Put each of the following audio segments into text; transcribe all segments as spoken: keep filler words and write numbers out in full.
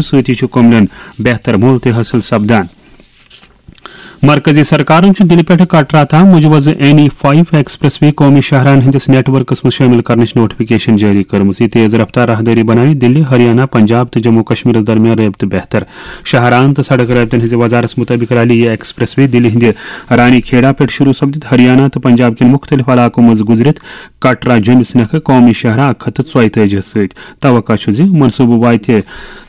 سۭتی چھُ کُملٮ۪ن بہتر مۄل تہِ حٲصِل سپدان۔ مرکزی سرکارن چھُ دِلہِ پٮ۪ٹھٕ کٹرا تام مجوزٕ این ای فایو ایکسپریس وے قومی شاہراہن ہٕنٛدِس نیٹ ورکس منٛز شٲمِل کرنٕچ نوٹیفکیشن جٲری کٔرمٕژ۔ یہِ تیز رفتار راہدٲری بناوِ دِلہِ، ہریانہ، پنجاب تہٕ جموں کشمیرس درمیان رٲبطہٕ بہتر۔ شاہراہن تہٕ سڑک رٲبطن ہٕنٛزِ وزارتس مُطٲبِق رلہِ یہِ ایکسپریس وے دِلہِ ہٕنٛدِ رانی کھیڑا پٮ۪ٹھ شروع سپدِتھ ہریانہ تہٕ پنجاب کٮ۪ن مُختٔلِف علاقو منٛز گُزرِتھ کٹرا جوٚمِس نکھٕ قومی شاہراہ اکھ ہتھ تہٕ ژۄیہِ تٲجی سۭتۍ۔ توقع چھُ زِ منصوٗبہٕ واتہِ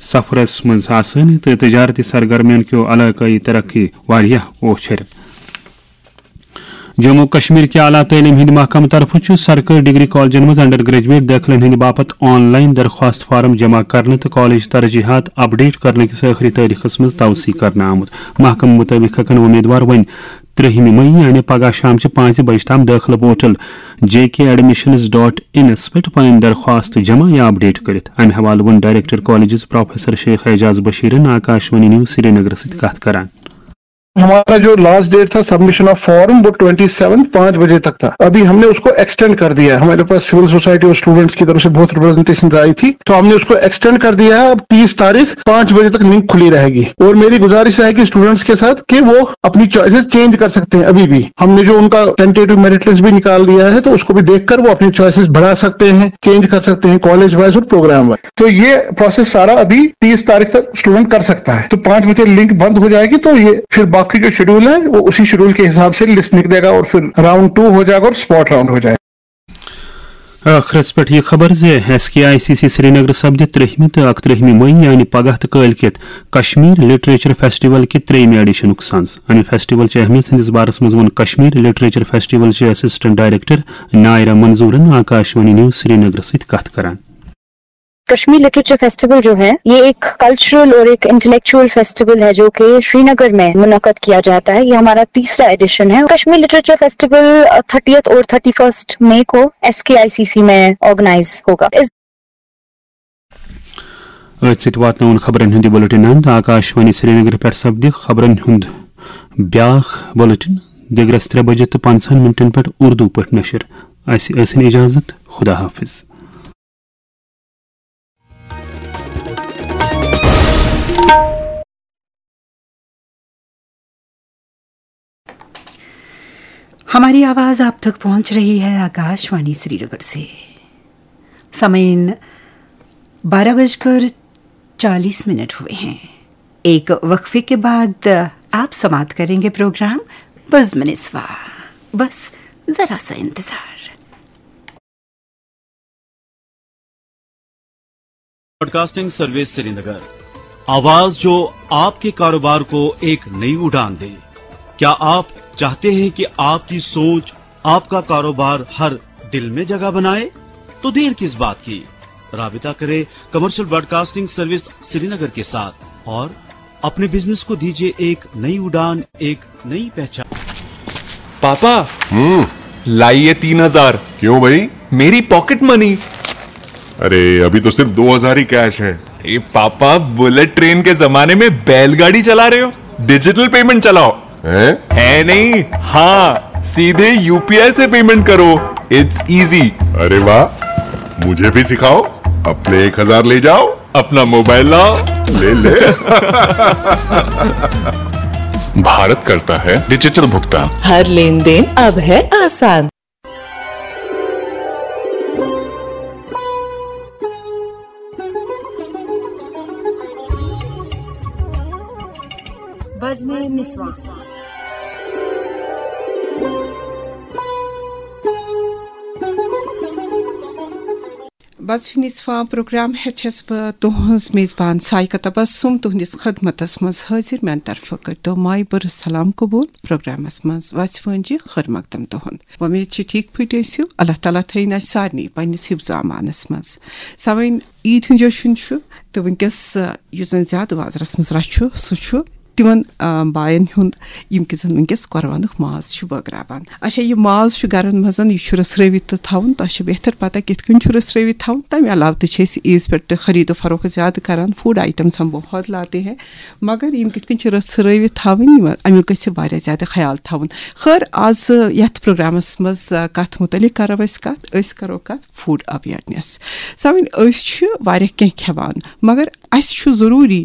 سفرس منٛز آسٲنی تہٕ تجارتی سرگرمین کیو علاقٲیی ترقی واریاہ اوچھر۔ جموں کشمیر کہِ اعلیٰ تعلیٖم ہٕنٛدِ محکمہٕ طرفہٕ چھُ سرکٲرۍ ڈگری کالجن منٛز انڈر گریجویٹ دٲخلن ہٕنٛدِ باپتھ آن لائن درخواست فارم جمع کرنہٕ تہٕ کالج ترجیحات اپڈیٹ کرنہٕ کِس ٲخری تٲریخس منٛز توسیع کرنہٕ آمُت۔ محکمہٕ مُطٲبِق ہٮ۪کن وۄمیدوار وۄنۍ ترٛہمہِ مئی یعنی پگاہ شامچہِ پانٛژِ بجہِ تام دٲخلہٕ پورٹل جے کے ایڈمیشنز ڈاٹ انس پٮ۪ٹھ پنٕنۍ درخواست جمع یا اپڈیٹ کٔرِتھ۔ امہِ حوالہٕ ووٚن director colleges professor Sheikh Ejaz بشیرن آکاشوانی نیوز سرینگرس سۭتۍ کتھ کران۔ ہمارا جو لاسٹ ڈیٹ تھا سبمشن آف فارم، وہ ٹوئنٹی سیونتھ پانچ بجے تک تھا۔ ابھی ہم نے اس کو ایکسٹینڈ کر دیا ہے۔ ہمارے پاس سول سوسائٹی اور اسٹوڈنٹس کی طرف سے بہت ریپرزنٹیشن آئی تھی، تو ہم نے اس کو ایکسٹینڈ کر دیا ہے۔ اب تیس تاریخ پانچ بجے تک لنک کھلی رہے گی۔ اور میری گزارش رہے گی اسٹوڈنٹس کے ساتھ کہ وہ اپنی چوائسیز چینج کر سکتے ہیں۔ ابھی بھی ہم نے جو ان کا ٹینٹیٹو میرٹ لسٹ بھی نکال دیا ہے، تو اس کو بھی دیکھ کر وہ اپنی چوائسیز بڑھا سکتے ہیں، چینج کر سکتے ہیں کالج وائز اور پروگرام وائز۔ تو یہ پروسیس سارا ابھی تیس تاریخ تک اسٹوڈنٹ کر سکتا ہے۔ تو پانچ بجے لنک بند ہو جائے گی، تو یہ پھر باقی جو شیڈول ہے، وہ اسی شیڈول کے حساب سے لسٹ نکلے گا اور پھر راؤنڈ ٹو ہو جائے گا اور اسپاٹ راؤنڈ ہو جائے گا۔ ٲخرس پٮ۪ٹھ یہِ خبر زِ S K I C C Srinagar سپدِ ترٛہمہِ تہٕ اکترٛہمہِ مئی یعنی پگاہ تہٕ کٲلۍ کٮ۪تھ کشمیر لٹریچر فیسٹیول کہِ ترٛیٚیمہِ ایڈیشنُک سنز۔ امہِ فیسٹیول چہِ اہمیت سٕنٛدِس بارس منٛز ووٚن کشمیر لٹریچر فیسٹیول چہِ اسسٹنٹ ڈائریکٹر نائرہ منظورن آکاشوانی نیوز سرینگرس سۭتۍ کتھ کران۔ کشمیر لٹریچر فیسٹیول جو ہے، یہ ایک کلچرل اور ایک انٹلیکچوئل فیسٹیول ہے جو کہ شری نگر میں منعقد کیا جاتا ہے۔ یہ ہمارا تیسرا ایڈیشن ہے۔ کشمیر لٹریچر فیسٹیول تھرٹیتھ اور تھرٹی فرسٹ مئی کو S K I C C میں آرگنائز ہوگا۔ اس أتھۍ سۭتۍ واتناوُن خبرن ہُنٛد یہِ بُلٹن اند۔ آکاشوانی سرینگر پٮ۪ٹھ سپدِ خبرن ہُنٛد بیٛاکھ بُلٹن دِگرس ترٛےٚ بجے تہٕ پنٛژاہن منٹن پٮ۪ٹھ اردو پٲٹھۍ نشر۔ اسہِ ٲسِن اجازت، خدا حافظ۔ ہماری آواز آپ تک پہنچ رہی ہے آکاشوانی سری نگر سے۔ سامعین، بارہ بج کر چالیس منٹ ہوئے ہیں۔ ایک وقفے کے بعد آپ سماعت کریں گے پروگرام بزم نسواں۔ بس ذرا سا انتظار۔ براڈکاسٹنگ سروس سرینگر، آواز جو آپ کے کاروبار کو ایک نئی اڑان دے۔ کیا آپ چاہتے ہیں کہ آپ کی سوچ، آپ کا کاروبار ہر دل میں جگہ بنائے؟ تو دیر کس بات کی؟ رابطہ کریں کمرشل براڈکاسٹنگ سروس سرینگر کے ساتھ اور اپنے بزنس کو دیجیے ایک نئی اڑان، ایک نئی پہچان۔ پاپا، ہوں۔ لائیے تین ہزار۔ کیوں بھائی؟ میری پاکٹ منی۔ ارے، ابھی تو صرف دو ہزار ہی کیش ہے۔ اے پاپا، بلٹ ٹرین کے زمانے میں بیل گاڑی چلا رہے ہو؟ ڈیجیٹل پیمنٹ چلاؤ۔ ہیں؟ ہے نہیں، ہاں، سیدھے یو پی آئی سے پیمنٹ کرو۔ It's easy. ارے واہ، مجھے بھی سکھاؤ۔ اپنے ایک ہزار لے جاؤ۔ اپنا موبائل لاؤ۔ لے لے۔ بھارت کرتا ہے ڈیجیٹل بھگتان۔ ہر لین دین اب ہے آسان۔ بزمِ نسواں۔ بزمِ نسواں پروگرام ہیٚتھ چھَس بہٕ تُہٕنٛز میزبان سائقہ تبسم تُہٕنٛدِس خدمتس منٛز حٲضِر۔ میٛانہِ طرفہٕ کٔرۍتو مایہِ بٔرٕژ سلام قبوٗل۔ پروگرامس منٛز وژھِ وٲنجہِ خٲر مقدم تُہُنٛد۔ وۄمید چھِ ٹھیٖک پٲٹھۍ ٲسِو۔ اللہ تعالیٰ تھٲیِن اَسہِ سارنٕے پننِس حفظ و امانس منٛز۔ سامعین، عیٖد ہُنٛد جشن چھُ تہٕ وٕنکیٚس، آ، یُس زن زیادٕ بازرس منٛز رش چھُ، سُہ چھُ تِمن، آ، باین ہُنٛد، یِم کہِ زن وٕنکیٚس قۄربانُک ماز چھِ بٲگراوان۔ اچھا، یہِ ماز چھُ گرن منٛز، یہِ چھُ رژھرٲوِتھ تہٕ تھاوُن۔ تۄہہِ چھِ بہتر پتہ کِتھ کٔنۍ چھُ رژھرٲوِتھ تھاوُن۔ تمہِ علاوٕ تہِ چھِ أسۍ عیٖذ پٮ۪ٹھ خرید و فروخت زیادٕ کران، فوڈ آیٹمز ہم بہت لاتے ہیں، مگر یِم کِتھ کٔنۍ چھِ رژھرٲوِتھ تھاوٕنۍ، یِم، امیُک گژھِ واریاہ زیادٕ خیال تھاوُن۔ خٲر، آز یتھ پروگرامس منٛز، آ، کتھ متعلق کرو أسۍ کتھ؟ أسۍ کرو کتھ فوڈ اویرنس۔ سامعین، أسۍ چھِ واریاہ کینٛہہ کھٮ۪وان، مگر اسہِ چھُ ضروٗری